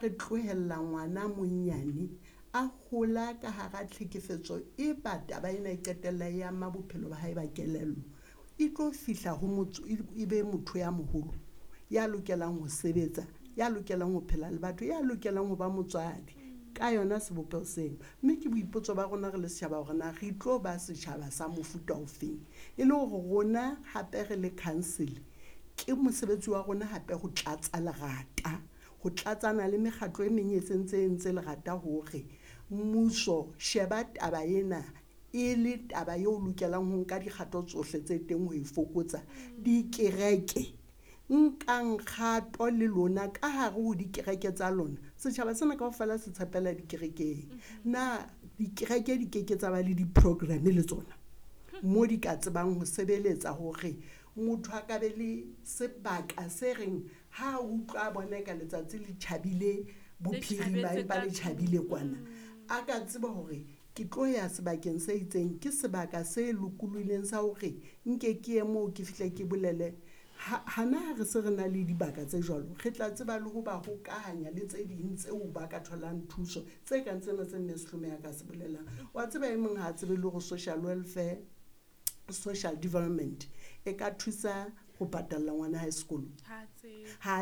Re tlohella ngwana monyane a hola ka hara tlhekefetso e ba taba ena e qetella e ama bophelo ba hae ba kelello. E tlo fihla ho motho e be motho ya moholo ya lokelang ho sebetsa, ya lokelang ho phela le batho, ya lokelang ho ba motswadi ka yona sebopeho seno. Mme ke boipotso ba rona re le setjhaba hore na re tlo ba setjhaba sa mofuta ofeng. E le hore rona hape re le council ke mosebetsi wa rona hape ho tlatsa lerata, ho tlatsana le mekgatlo e meng e sentse e entse lerata hore mmuso sheba taba ena e le taba eo lokelang ho nka dikgato tsohle tse teng ho e fokotsa. Dikereke, nkang kgato le lona ka hare ho dikereke tsa lona. Setjhaba sena kaofela se tshepela dikerekeng. Na dikereke di keke tsa ba le di-program le tsona mo di ka tsebang ho sebeletsa hore motho a ka be le sebaka se reng ha a utlwa a bona ka letsatsi le tjhabile bophirima empa le tjhabile kwana, a ka tseba hore ke tlo ya sebakeng se itseng, ke sebaka se lokolohileng sa hore nke ke ye moo ke fihle ke bolele. Hana ha re se re na le dibaka tse jwalo, re tla tseba le ho ba hokahanya le tse ding tseo ba ka tholang thuso tse kang tsena tse mme Sehlomeha ka se bolelang. Wa tseba e mong ha a tsebe le hore social welfare, social development e ka thusa ho patalla ngwana hae sekolo, ha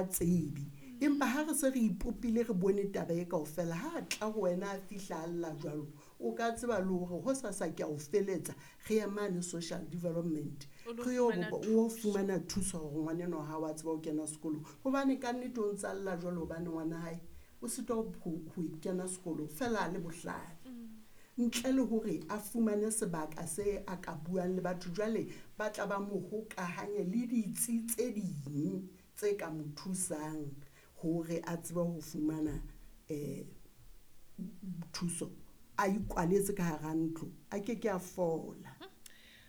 a tsebe. Empa ha re se re ipopile re bone taba e kaofela, ha a tla ho wena a fihla a lla jwalo, o ka tseba le hore hosasa ke a o feletsa, re ye mane social development re yo o fumana thuso hore ngwaneno ha wa tseba ho kena sekolong. Hobane ka nnete o ntsa lla jwalo hobane ngwana hae o sitwa ho kena sekolong fela a le bohlale. Ntle le hore a fumane sebaka se a ka buang le batho, jwale ba tla ba mo hokahanye le ditsi tse ding tse ka mo thusang hore a tsebe ho fumana thuso. A ikwaletse ka hara ntlo, a ke ke a fola.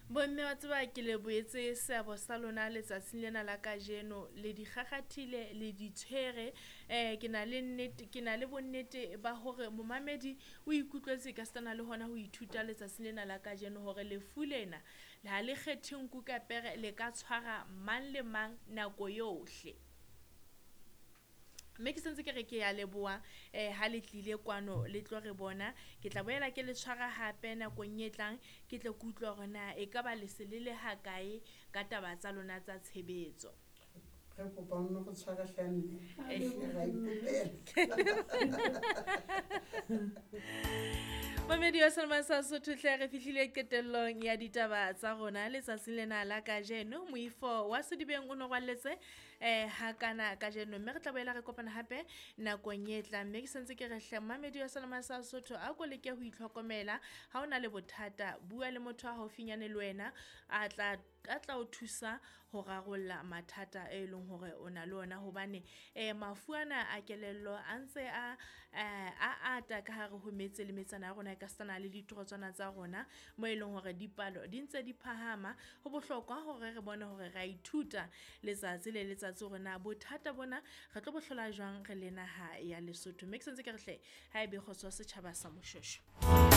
Bomme wa tseba ke le boetse seabo sa lona letsatsing lena la kajeno, le di kgakgathile, le di tshwere. Ke na le nnete, ke na le bonnete ba hore momamedi o ikutlwetse ka setsana le hona ho ithuta letsatsing lena la kajeno hore lefu lena ha le kgethe nku ka pere, le ka tshwara mang le mang nako yohle. Mme ke sentse ke re ke ya leboha ha le tlile kwano le tlo re bona. Ke tla boela ke le tshwara hape nakong e tlang, ke tle ke utlwe hore na e ka ba le se le le ha kae ka taba tsa lona tsa tshebetso. Re kopa o nno re tshware hle mme. Ra ikopela. Mamedi wa Selma sa Sotho hle, re fihlile qetellong ya ditaba tsa rona letsatsing lena la kajeno. Moifo wa Sedibeng o no rwalletse ha kana kajeno, mme re tla boela re kopana hape nakong e tlang. Mme ke sentse ke re hle mamedi wa Selma sa Sotho, a ko leke ho itlhokomela. Ha o na le bothata, bua le motho a haufinyane le wena, a tla o thusa ho rarolla mathata e leng hore o na le ona, hobane mafu ana a kelello a ntse a ata ka hare ho metse le metsana ya rona, e ka setsana le ditorotswana tsa rona mo e leng hore dipalo di ntse di phahama. Ho bohlokwa hore re bone hore ra ithuta letsatsi le letsatsi hore na bothata bona re tlo bo hlola jwang re le naha ya Lesotho. Mme ke sentse ke re hle, ha ebe kgotso setjhaba sa Moshoeshoe.